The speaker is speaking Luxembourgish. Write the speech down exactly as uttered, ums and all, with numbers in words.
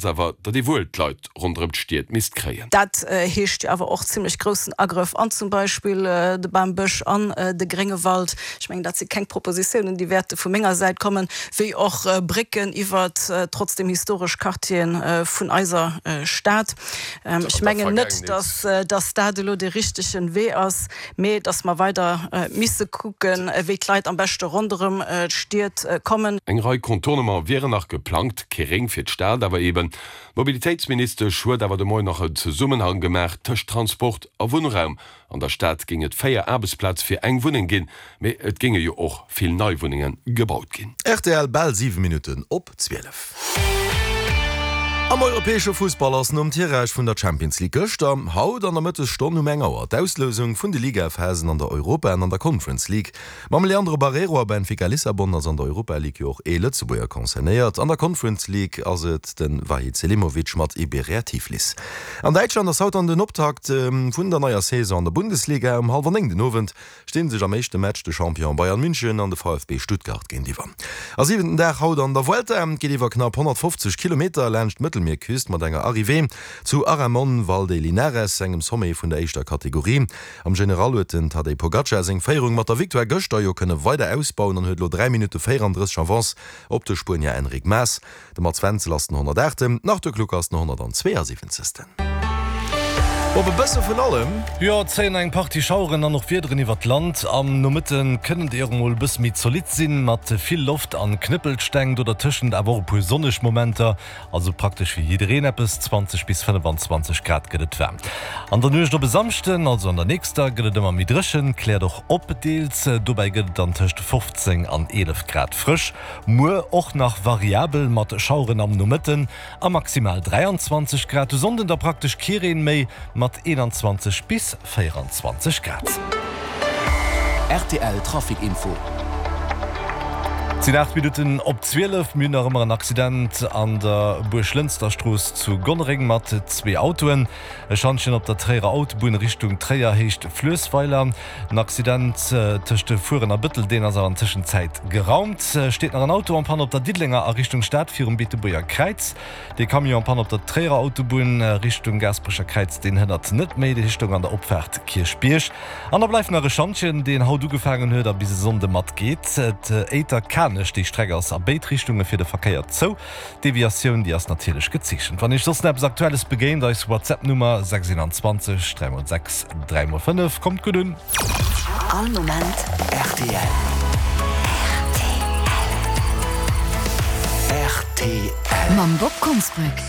Awer, datt ee wuel d'Leit ronderëm d'Stied misst kréien. Dat heescht jo awer och zimlech groussen Agrëff an zum Beispill de Bambësch an de Gréngewald. Ech mengen, dat si keng Propositiounen, déi wäerte vu menger Säit kommen, wéi och Brécken iwwert trotzdem historesch Quartiere vun eiser Stad. Ech mengen net, datt dat elo dee richtegen Wee ass, mee datt mer weider misse kucken, wéi d'Leit am beschte ronderëm d'Stied kommen. Eng Rei Contournement wieren nach geplangt, kee Réng fir d'Stad awer eben. D'Mobilitéitsministesch huet awer de Moien nach en Zesummenhang gemaach tëscht Transport a Wunnraum. An der Stad géing et véier Aarbechtsplaze fir eng Wunneng ginn, mee et géinge jo och vill nei Wunnenge gebaut ginn. Rtl, Bal siwe Minutten op zwielef. Am europäesche Fussball ass nom Tirage vun der Champions League gëschter, haut an der Mëttesstonn um eng Auer d'Auslousung vun de Ligaphasen an der Europa an an der Conference League. Mam Leandro Barreiro a Benfica Lissabon ass an der Europa League jo och ee Lëtzebuerger concernéiert. An der Conference League ass et de Vahid Selimovic mat Iberia Tiflis. An Däitschland ass haut dann den Optakt vun der neier Saison an der Bundesliga. Um hallwer néng den Owend sti sech am éischte Match de Champion Bayern München an de VfB Stuttgart géintiwwer. A siwenten Dag haut an der Vuelta geet iwwer knapp honnertfofzeg Kilometer laanscht d'Mëttelmierküst mat enger Arrivée zu Aramon Val de Linares, engem Sommet vun der éischter Kategorie. Am General huet den Tadej Pogacar seng Féierung mat der Victoire gëschter jo kënne weider ausbauen an huet elo dräi Minutte véierandrësseg Avance op de Spuenier Enric Mas. De Mats Wenzel ass den honnertaachten, den Arthur Kluck ass den honnertanzweeasiwwenzegsten. Bob, e bësse vun allem. Jo, et zéien eng Partie Schaueren an och Wiederen iwwert d'Land. Am Nomëtte kënnen déi och emol e bësse méi zolidd sinn, mat vill Loft an Knëppelsteng, do dertëschent awer och e puer sonneg Momenter. Also praktesch fir jiddereen eppes, zwanzeg bis fënnefanzwanzeg Grad gëtt et waarm. An der Nuecht op e Samschden, also an der nächster, gëtt et ëmmer méi dréchen, kläert och op deels. Dobäi gëtt et dann tëscht fofzéng an eelef Grad frësch. Muer och nach variabel mat Schaueren am Nomëtten a maximal dräianzwanzeg Grad. De Sonnden da praktesch kee Reen méi, mat eenanzwanzeg bis véieranzwanzeg Grad. Rtl Trafic Info. Et sinn aacht Minutten op zwielef. Mir hunn nach ëmmer en Accident an der Buerglënsterstrooss zu Gonnereng mat zwee Autoen. E Schantjen op der Tréierer Autobunn Richtung Tréier Héicht Fluessweiler. En Accident tëscht Fueren a Bëttel, deen ass awer an Tëschenzäit geraumt. Steet nach en Auto en panne op der Diddelenger a Richtung Stad virum Beetebuerger Kräiz. Dee Camion en panne op der Tréierer Autobunn Richtung Gaasperecher Kräiz, deen hënnert net méi. Déi stoung an der Opfaart Kierchbierg. An da bleift nach e Schantjen, deen haut ugefaangen huet a bis e Sonnde matgeet. Éiter-Kanech, déi Streck ass a béid Richtunge fir de Verkéier zou. D'Deviatioun, déi ass natierlech gezeechent. Wann Iech soss nach eppes Aktuelles begéint, eis WhatsApp-Nummer sechs eenanzwanzeg dräi mol sechs dräi mol fënnef. Kommt gutt un! All Moment rtl. Rtl. Mam Bob Konsbrück.